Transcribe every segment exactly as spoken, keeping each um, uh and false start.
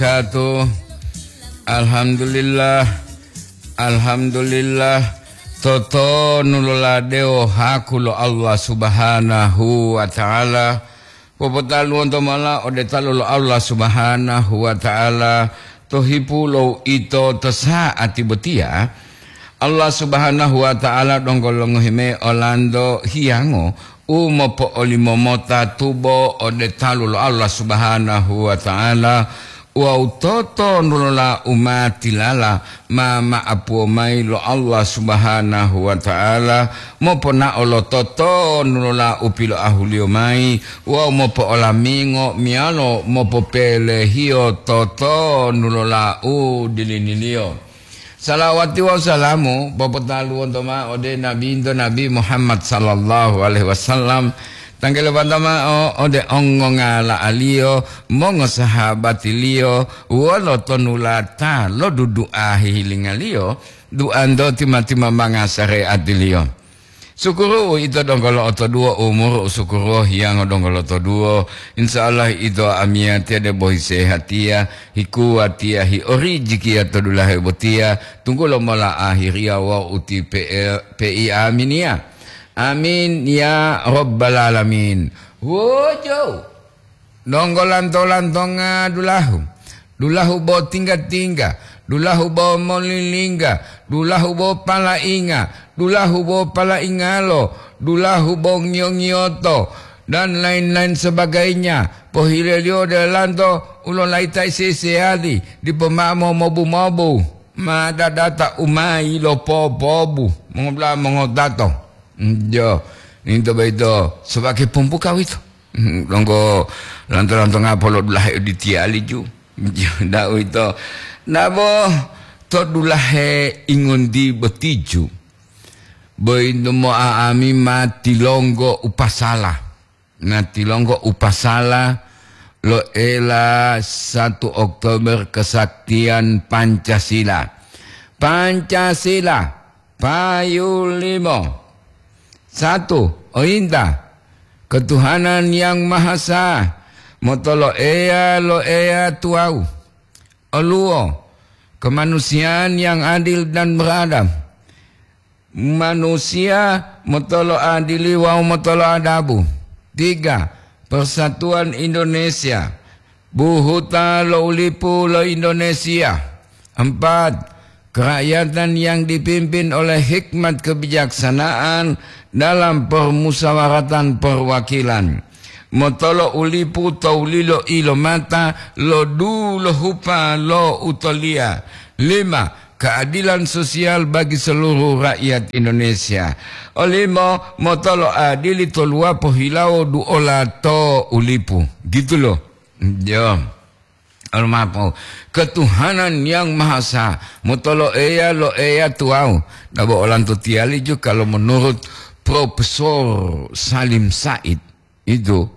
Katu. Alhamdulillah. Alhamdulillah. Totonu loladewo haku lo Allah Subhanahu wa Ta'ala. Popotaluwonto mola ode talu lo Allah Subhanahu wa Ta'ala to hipu lo ito to sa'ati botiya. Allah Subhanahu wa Ta'ala donggo longohi mayi olanto hiyango u mopo'olimo mota tubo ode talu lo Allah Subhanahu wa Ta'ala, wawu totonulola u ma tilala ma ma'apuwo mayi lo Allah Subhanahu wa Ta'ala, moponao lo totonulola u piloahuliyo mayi wawu mopo'olamingo meyalo mopopelehiyo totonulola u diliniliyo. Salawati wawu salamu popotaluwonto mao ode Nabinto Nabi Muhammad sallallahu alaihi wasallam, tanggelopanta mao ode ongongala'aliyo, mongosahabatiliyo, wolo tonulata lo dudu'a hihilingaliyo, duanto tima-timambanga sareatiliyo. Sukuru uwito donggo lo'otoduwo umuru u sukuruwo hiyango donggo lotoduwo. Insya Allah ito amiyatiya debo hisehatiya, hikuwatiya, hiorijikiya to dulahe botiya, tunggulo mola ahiriya wawu uti pe'e-, pe'i aminiya. Amin ya rabbal alamin. Wojo! Donggo lanto-lantonga dulahu, dulahu bo tingga-tingga, dulahu bo molilingga, dulahu bo palainga, dulahu bo palaingalo, dulahu bo ngiyo-ngiyoto, dan lain-lain sebagainya. Pohileliyo ode lanto u lolaita seseyali, dipo mao mobu-mobu, ma dadata u ma yilopopobu, mongoda'a mongotato. Jo, ninto boyito sobake pumpuka wito. Donggo lanto-lantonga polo dulahe uditiyali ju. Da'u ito. Nabo to dulahe ingondi botiju. Boyinto mo'a'ami ma tilonggo upasala. Na tilonggo upasala lo ela satu Oktober kesaktian Pancasila. Pancasila, payu limo. Satu, oyinta, ketuhanan yang maha esa, motolo Eya lo Eya tuwawu. Oluwo, kemanusiaan yang adil dan beradab. Manusiya motolo adili wawu motolo adabu. Tiga, persatuan Indonesia. Buhuta lo ulipu lo Indonesia. Empat, kerakyatan yang dipimpin oleh hikmat kebijaksanaan dalam permusawaratan perwakilan. Motolo ulipu to lilo ilomata lo dulohupa lo utoliya. Lima, keadilan sosial bagi seluruh rakyat Indonesia. Olimo motolo adili to luwapo hilawo duola to ulipu. Gitu loh. Yo. Almapo, ketuhanan yang maha esa, motolo Eya lo Eya tuwawu. Dabo olanto tiyali ju kalau menurut Profesor Salim Said itu,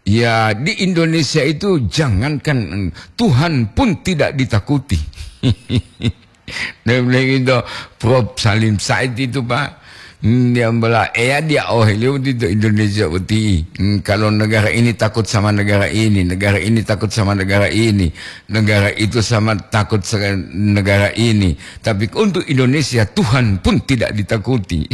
ya di Indonesia itu jangankan Tuhan pun tidak ditakuti. Dia bilang gitu, Prof Salim Said itu, Pak. Hmm, dia bilang, "Eya dia oh, liyo boti to Indonesia boti. Hmm, kalau negara ini takut sama negara ini, negara ini takut sama negara ini, negara itu sama takut sama negara ini. Tapi untuk Indonesia, Tuhan pun tidak ditakuti."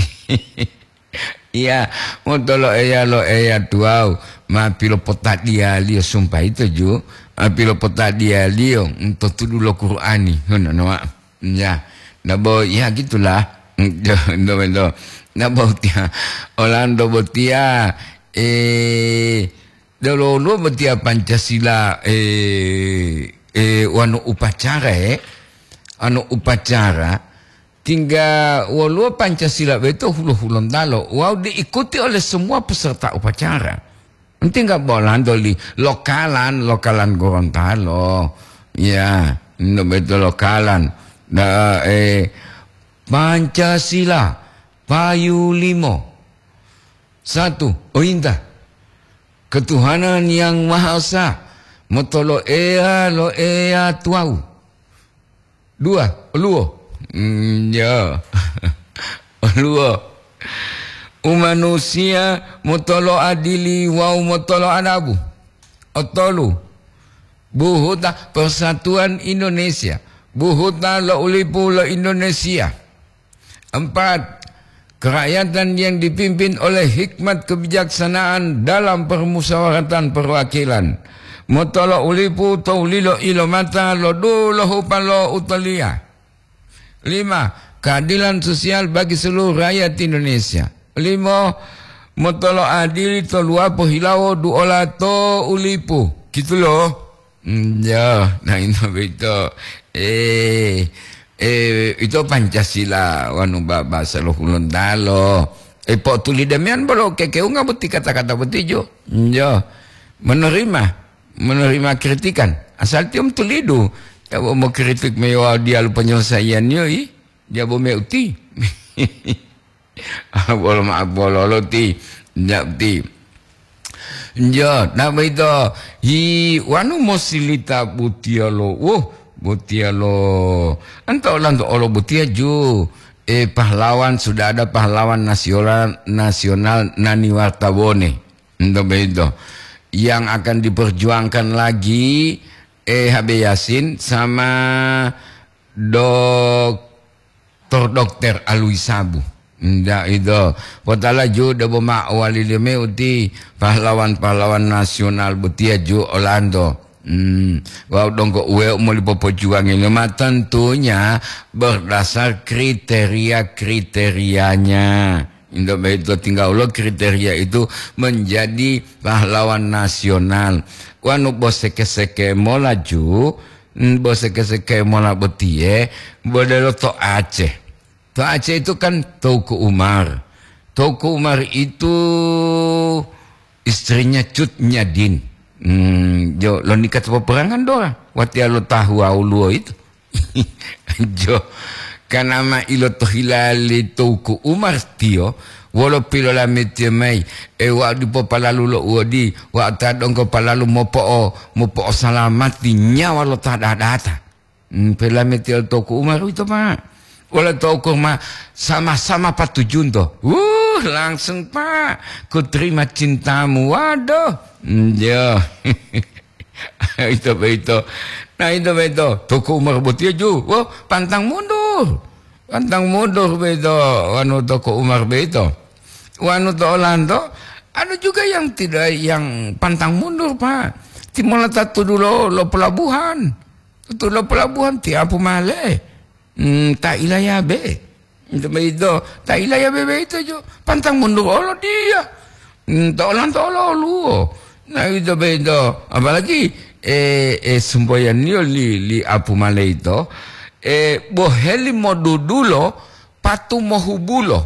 Iya, motolo Eya lo Eya tuwawu, ma pilopotadiyaliyo sumpah itu ju, ma pilopotadiyaliyo, hmm, to tudu lo Qur'ani, ngono, no, Pak. Ya, nabo, ya gitulah. Nabo, nabo. Nabo tiya, olanto botiya, eh, delo-delo botiya Pancasila, eh, eh, wanu upacara, eh, anu upacara, tingga woluwo Pancasila boyito hulo-hulontalo, wawu diikuti oleh semua peserta upacara. Tingga bo olanto li lokalan, lokalan Gorontalo. Ya, no beto lokalan. Da, eh, Pancasila, payu limo. Satu, oyinta. Ketuhanan yang Maha Esa, motolo Eya lo Eya tuwawu. Dua, oluwo. Mm, ya. Oluwo. Umanusiya motolo adili wawu motolo adabu. Otolu. Buhuta Persatuan Indonesia, buhuta lo u lipu lo Indonesia. Empat, kerakyatan yang dipimpin oleh hikmat kebijaksanaan dalam permusyawaratan perwakilan. Motolo u lipu to ulilo ilomata lo dulohupa lo utoliya. Lima, keadilan sosial bagi seluruh rakyat Indonesia. Limo, motolo adili to luwapo hilawo duola to u lipu. Gitu loh. Mm, ya, nah, ito boyito. Eh, eh, ito Pancasila, wanu ba-, bahasa lo Hulontalo. Eh, po'otuli demian bolo kekeunga boti kata-kata boti jo. Mm, ya. Menerima, menerima kritikan. Asal tiyo tulidu. Ya, bo mokritik meyo diyalu penyelesaian yo, i. Dia bo meuti. Bolo ma-, bololo ti, ndak ti. Jo, na boyito, hi, wanu mosilita butiya lo, woh, butiya lo, anta olanto olo butiya ju, eh, pahlawan, sudah ada pahlawan nasional, nasional nani wartabone. Ento boyito. Yang akan diperjuangkan lagi, eh, H B Yasin sama Doktor Dokter Alwi Sabu. Ndak ito. Potala ju debo ma wali leme uti pahlawan-pahlawan nasional botiya ju olanto. Hmm, wau donggo uwe moli popojuwangi lema tentunya berdasar kriteria-kriterianya. Indo boyito tinggal lo kriteria itu menjadi pahlawan nasional. Wanu boseke-seke mola ju, mm, boseke-seke mola botiye, bodelo to Aceh. To Aceh itu kan Teuku Umar. Teuku Umar itu istrinya Cut Nyadin. Hmm, jo, lo nikah to peperangan dora. Watiya lo tahu awuluwo itu. Jo, kanama ilotohila li Teuku Umar tiyo, wolo pilolametiyo mayi, e, wau dipo palalu lo uwodi, wau ta donggo palalu mopo'o-, mopo'osalamati nyawa lo ta dadata. Hmm, pilolametiyo Teuku Umar uwito, Pak. Wolo Teuku ma sama-sama patujunto. Wuh, langsung, Pak, ku terima cintamu. Waduh. Hmm, jo. Ito boyito. Nah, ito boyito. Teuku Umar botiya ju. Wah, pantang mundur. Pantang mundur boyito. Wanu Teuku Umar boyito. Wanu to olanto, ada juga yang tidak, yang pantang mundur, Pak. Timola ta tudu lo, lo pelabuhan. Tudu lo pelabuhan, tiapu male. Hmm, ta ilayabe. Ito boyito, ta ilayabe boyito jo, pantang mundur olo dia. Hmm, to olanto olo oluwo. Nah, ito boyito, apalagi, eh, eh, semboyaniyo li, li apu maleito, eh, boheli modudulo, patu mohubulo.